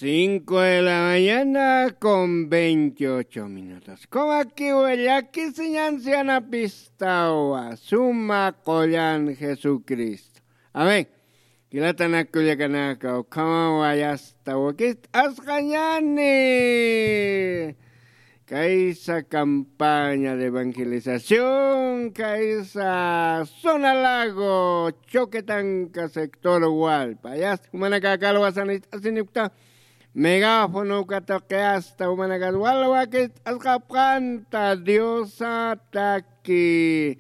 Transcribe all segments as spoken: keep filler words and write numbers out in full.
Cinco de la mañana con veintiocho minutos. Kumakiwa llakisiñan sianapistawa, suma qullan Jesucristo. Amén. Jilatanak kullakanaka, ukhamawa yasta wakist'asqañani. Kaysa campaña de evangelización, kaysa Zona Lago, Choquetanca, sector Hualpa. Yasta, jumanaka aka alwasan ist'asinipkta, megáfono katuqi asta, jumanakat wal wakist'asqapxanta, Diosataki.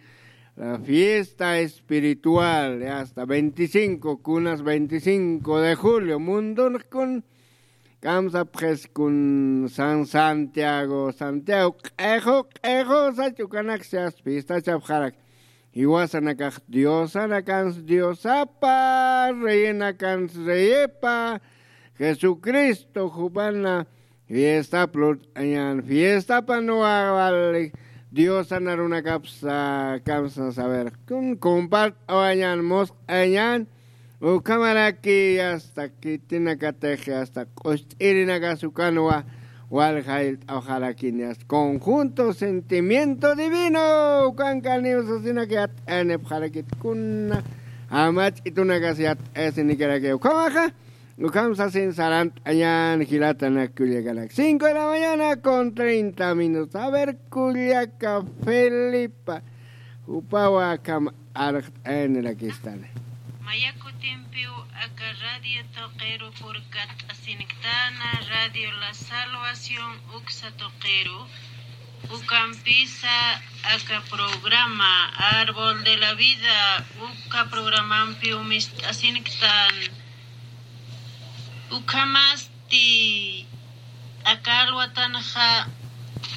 La fiesta espiritual, ya está, veinticinco, kunas veinticinco de julio, mundunx kun, kamsapxis kun San Santiago, Santiago, q'ixu, q'ixu, sach ukanaksa fiestachapxarak. Jiwasanakax Diosanakans Diosapa, reyenakans reyepa, Jesucristo jupana fiestap lurt'añan, fiestapan wawali Diosan arunakapsa kamsa saber. Kun compart'awañan, musq'añan, ukhamaraki hasta khitinakatix hasta q'ust'irinakas ukanwa wal jayllt'awxarakini, hasta conjunto sentimiento divino, ukankaniw sasinak yat'ayanipxarakit kuna, jamach'itunakas yat'ayasinikaraki ukhamaxa. Ukham sasin sarant'añan jilatanak kullakanak. Cinco de la mañana con treinta minutos. A ver, kullaka Felipa. Jupawa akham arxt'ayanirakistani. Maya kutimpiw aka radio tuqiru purkat'asinktan, Radio La Salvación uksa tuqiru. Ukampisa aka programa Árbol de la Vida, uka programampiw mist'asinktan. Ukhamasti aka alwatanxa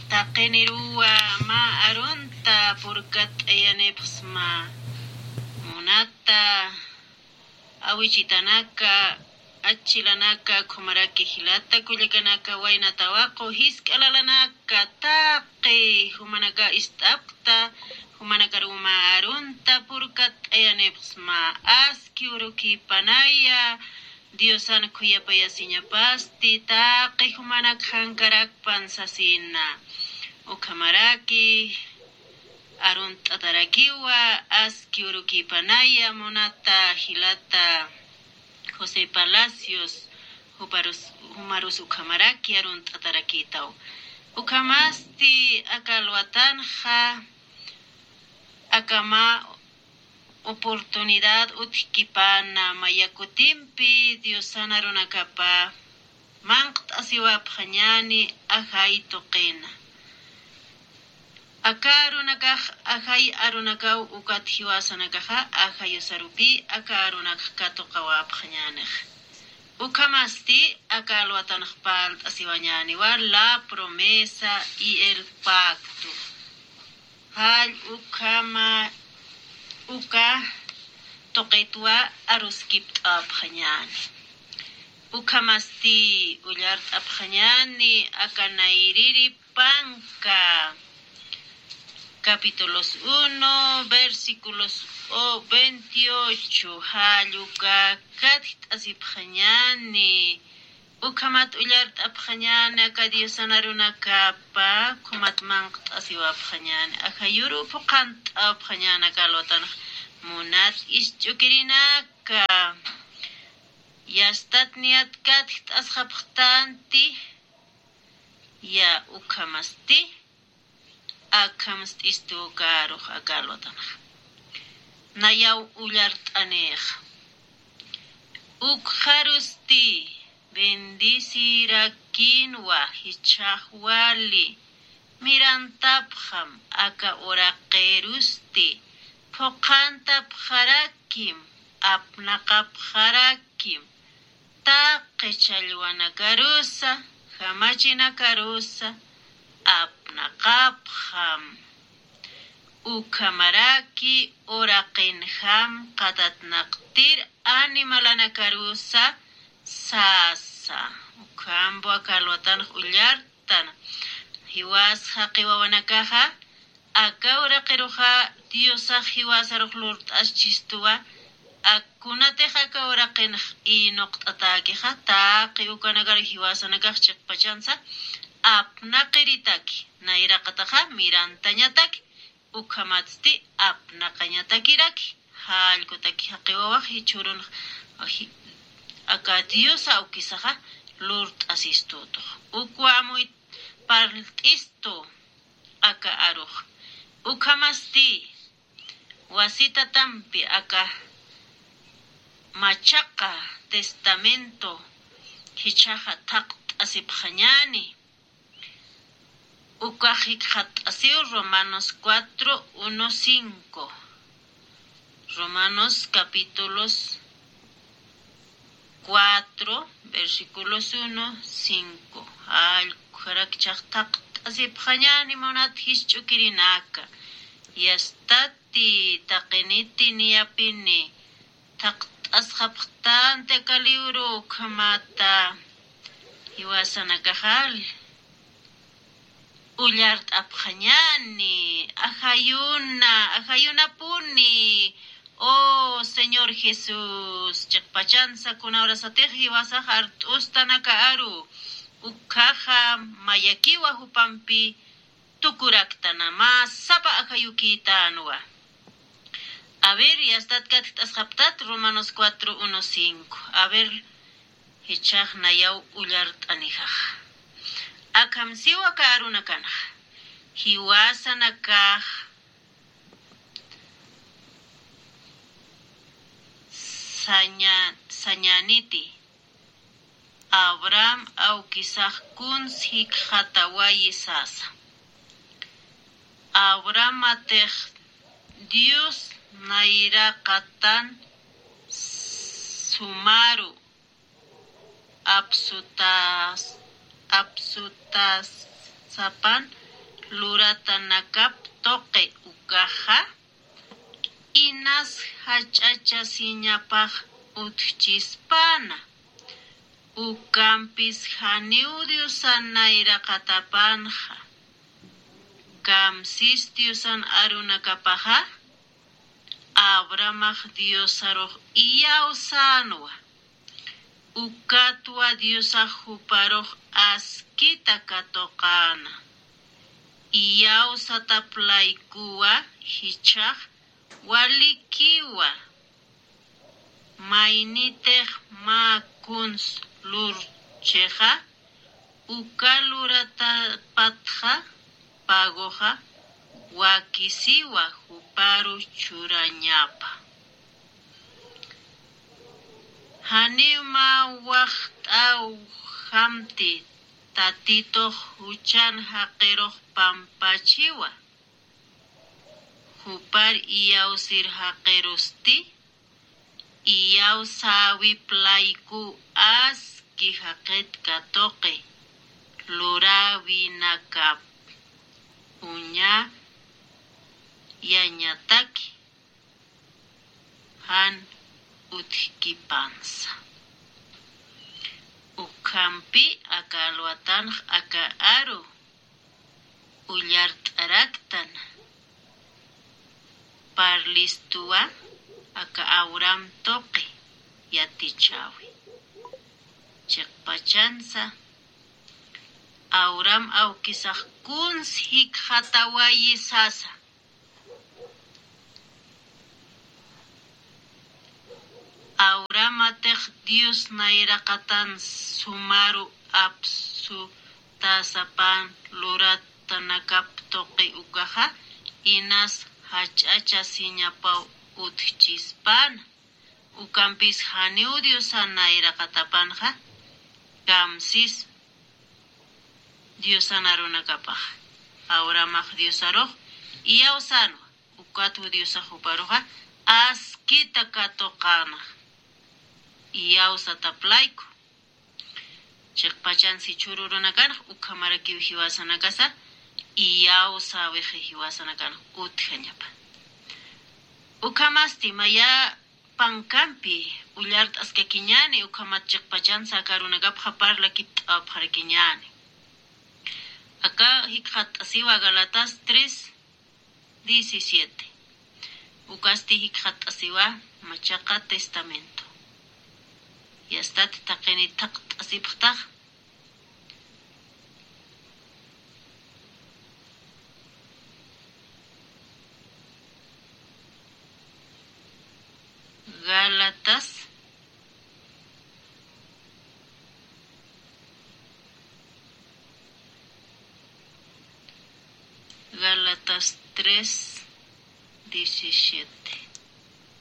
taqiniruwa mä arunta purkat'ayanipxsma. Munata awichitanaka, achilanaka, ukhamaraki jilata kullakanaka, wayna tawaqu jisk'a lalanaka, taqi jumanaka ist'apkta, jumanakaruw mä arunta purkat'ayanipxsma, aski urukipanaya, Diosan khuyapayasiñapasti, taqi jumanak jankarakpan sasina. Ukhamaraki arunt'atarakiwa, aski urukipanaya, munata jilata José Palacios, juparus, jumarus ukhamaraki arunt'atarakitaw. Ukhamasti aka alwatanxa, aka mä oportunidad utjkipana, maya kutimpi Diosan arunakapa manqt'asiwapxañani ajay tuqina. Aka arunakax ajay arunakaw, ukat jiwasanakaxa ajayusarupi aka arunakax katuqawapxañanix. Ukhamasti aka alwatanx parlt'asiwañaniwa La Promesa y el Pacto. Jall ukhama uka tuqitwa aruskipt'apxañani. Ukhamasti ullart'apxañani aka nayriri panka, capítulos uno, versículos o veintiocho, jall uka katjt'asipxañani. Ukhamat ullart'apxañani aka Diosan arunakapa, ukhamat manqt'asiwapxañani, ajayuruw phuqhant'apxañani aka alwatanx munat isch'ukirinaka. Yastat niyat katjt'asxapxtanti, ya ukhamasti. Akham st'istu ukarux aka alwatanxa. Nayaw ullart'anixa. Ukxarusti bendecirakinwa jichhax wali mirantapxam, aka uraqirusti phuqhantapxarakim, apnaqapxarakim, taqi challwanakarusa, jamachinakarusa apnaqapxam. Ukhamaraki uraqinjam qatatnaqtir animalanakarusa sasa. Ukhamp aka alwatanx ullartan. Jiwas jaqi wawanakaxa, aka uraqiruxa Diosax jiwasarux lurt'aschistuwa, Kunatix aka uraqinx inuqt'atäkixa, taqi ukanakar jiwasanakax chiqpachansa apnaqiritaki, nayraqataxa mirantañataki, ukhamatsti apnaqañatakiraki, jallkutaki jaqiwawax jichhürunx, aka Dios awkisaxa lurt'asistutux. Ukwa amuy parlt'istu aka arux. Ukhamasti wasitatampi aka machaqa testamento jichhaxa thaqt'asipxañäni. Ukax jikxatasiw Romanos cuatro, uno, cinco. Romanos capítulos cuatro, versículos uno, cinco. Jallkujarak jichhax thaqt'asipxañäni munat jisch'ukirinaka. Yastati taqiniti niyapini thaqt'asxapxtanti aka libro ukhamata jiwasanakaxal ullart'apxañäni, ajayuna, ajayunapuni. Oh, Señor Jesús, chiqpachansa kuna urasatix jiwasax art'ustan aka aru, ukhaxa mayakiwa jupampi tukuraktana, mä sapa ajayukïtänwa. A ver, yastat katkt'asxaptat Romanos cuatro, uno, cinco. A ver, jichhax nayaw ullart'anijaxa. Akham siwa aka arunakanxa. Jiwasanakax saña-, sañäniti. Abraham awkisax kuns jikxatawayi sasa. Abrahamatix Dios nayraqatan sumaru apsutas-, apsutasapan luratanakap tuqi ukaxa, inas jach'achasiñapax utjchispana. Ukampis janiw Diosan nayraqatapanxa. Kamsis Diosan arunakapaxa, Abrahamax Diosarux iyawsänwa. Ukatwa Diosax juparux askita katuqäna. Iyawsatap laykuwa jichhax walikiwa. Maynitix mä kuns lurchixa, uka luratapatxa pagoxa wakisiwa juparu churañapa. Janiw mä waxt'awjamti Tatitux juchan jaqirux pampachiwa. Jupar iyawsir jaqirusti, iyawsäwip layku aski jaqit katuqi luräwinakap uñayañataki jan utjkipansa. Ukhampi aka alwatanx aka aru ullart'araktan. Parlistuwa aka Abraham tuqi yatichäwi. Chiqpachansa Abraham awkisax kuns jikxatawayi sasa. Abrahamatix Dios nayraqatan sumaru apsutasapan luratanakap tuqi ukaxa, inas jach'achasiñapaw utjchispana. Ukampis janiw Diosan nayraqatapanxa, kamsis Diosan arunakapax. Abrahamax Diosarux iyawsänwa, ukatwa Diosax juparuxa askita katuqäna. Iyawsatap layku. Chiqpachansa jichhüru urunakanx ukhamarakiw jiwasanakasa iyawsäwixi jiwasanakanx utjañapa. Ukhamasti maya pankampi ullart'askakiñäni, ukhamat chiqpachansa aka arunakapxa parlakipt'awapxarakiñäni. Aka jikxatt'asiwa Gálatas tres diecisiete. Ukasti jikxatt'asiwa Machaqa testamento. Yastati taqini thaqt'asipxtax. Gálatas, Gálatas tres, diecisiete.